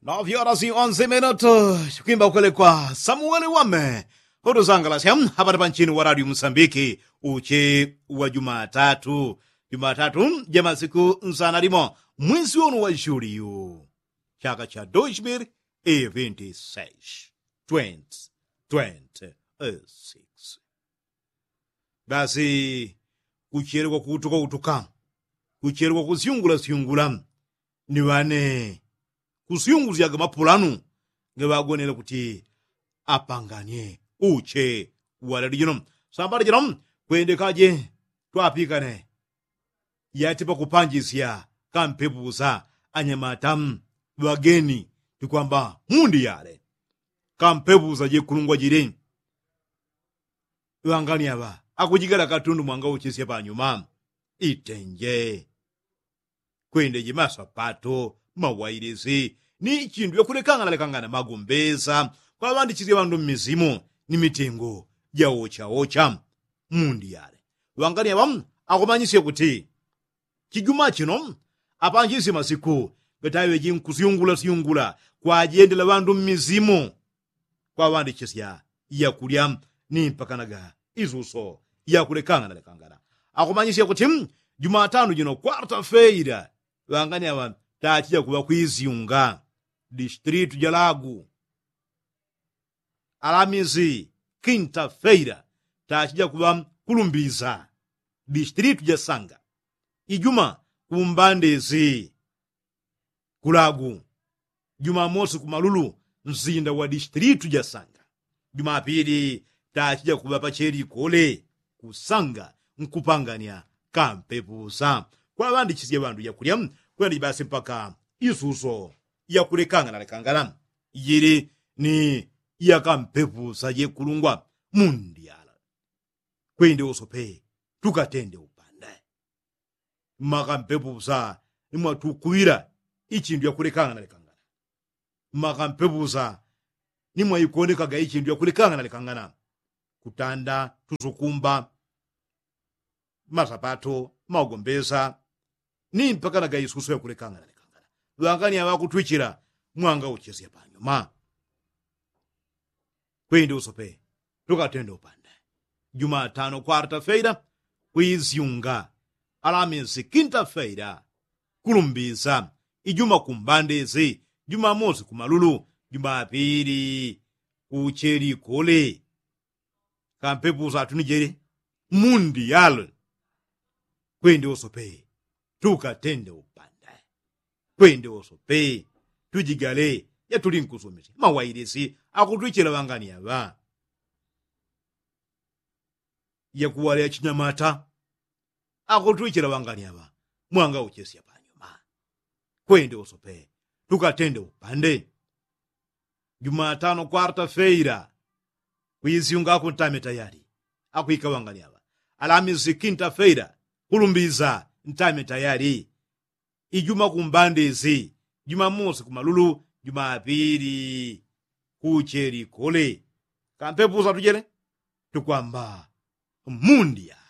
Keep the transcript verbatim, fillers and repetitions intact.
Novyo orasi onse minutu. Chikwimba ukwelekwa samuweli wame. Utusangalasya hapati pa nchini wa radio musambiki uche wa jumatatu. Jumatatu ja masiku nsana limo mwisi wonu wa juliyu, chaka cha dos mil e vinti seis, twenty twenty six. Basi kuchelekwa kuutuka utuka, kuchelekwa kusyungula syungula ni ŵane kusyungusyaga mapulanu ngeŵagonele kuti apanganye uche wa leli jino. Sambala jino kwendekaje twapikane yati pakupanjisya kampepusa anyamata ŵageni, tikwamba mundi yale kampepusa jekulungwa jili. Ŵangani aŵa akujigala katundu mwangauchisye panyuma itenje kwende jimasapato, mawailisi ni chindu yakulekangana lekangana magombesa kwaŵandichisye ŵandu mmisimu ni mitengo jaochaocha. Mundi yale ŵangani aŵa akumanyisye kuti chijuma chino apanjisye masiku gataŵe jinkusyungulasyungula kwajendela ŵandu mmisimu kwaŵandichisya yakulya ni mpakanaga isuso yakulekangana lekangana. Akumanyisya kuti jumatano jino kwarta feira ŵangani aŵa tachija kuŵa kwisyunga distritu ja lagu. Alamisi kinta feira tachija kuŵa kulumbiza distritu ja sanga. Ijuma kumbandisi kulagu. Jumamosi kumalulu nsinda wa distritu ja sanga. Jumapili tachija kuŵa pacheli kole kusanga nkupanganya kampepusa kwaŵandichisye ŵandu yakulya. Kwenda jibasi mpaka isuso yakulekangana lekangana jili ni yakampepusa jekulungwa mundi yala. Kwende usope tukatende upande. Makampepusa ni mwatukuŵila ichindu yakulekangana lekangana. Makampepusa ni mwaikonekaga ichindu yakulekangana lekangana. Kutanda tusukumba masapato magombesa ni mpakanaga isuso yakulekangana lekangana. Ŵangani aŵa akutwichila mwangauchesya panyuma. Kwindi usope tukatende upande. Jumatano kwarta feira kwisyunga. Alamisi kinta feira kulumbisa. Ijuma kumbandisi. Jumamosi kumalulu. Jumapili kuchelikole. Kampepusa atunijele mundi yalwe. Kwende wosope tukatende upande. Kwende wosope tujigale yatulinkusumisi mawailisi akutwichela ŵangani aŵa. Yakuwala yachinyamata akutwichela ŵangani aŵa. Mwangauchesya panyuma. Kwende wosope tukatende upande. Jumatano kwarta feira kuisyunga kuntame tayali. Akwika ŵangani aŵa. Alamisi kinta feira kulumbiza ntame tayali. Ijuma kumbandisi. Jumamosi kumalulu. Jumapili kuchelikole. Kampepusa tujele tukwamba mundi ya.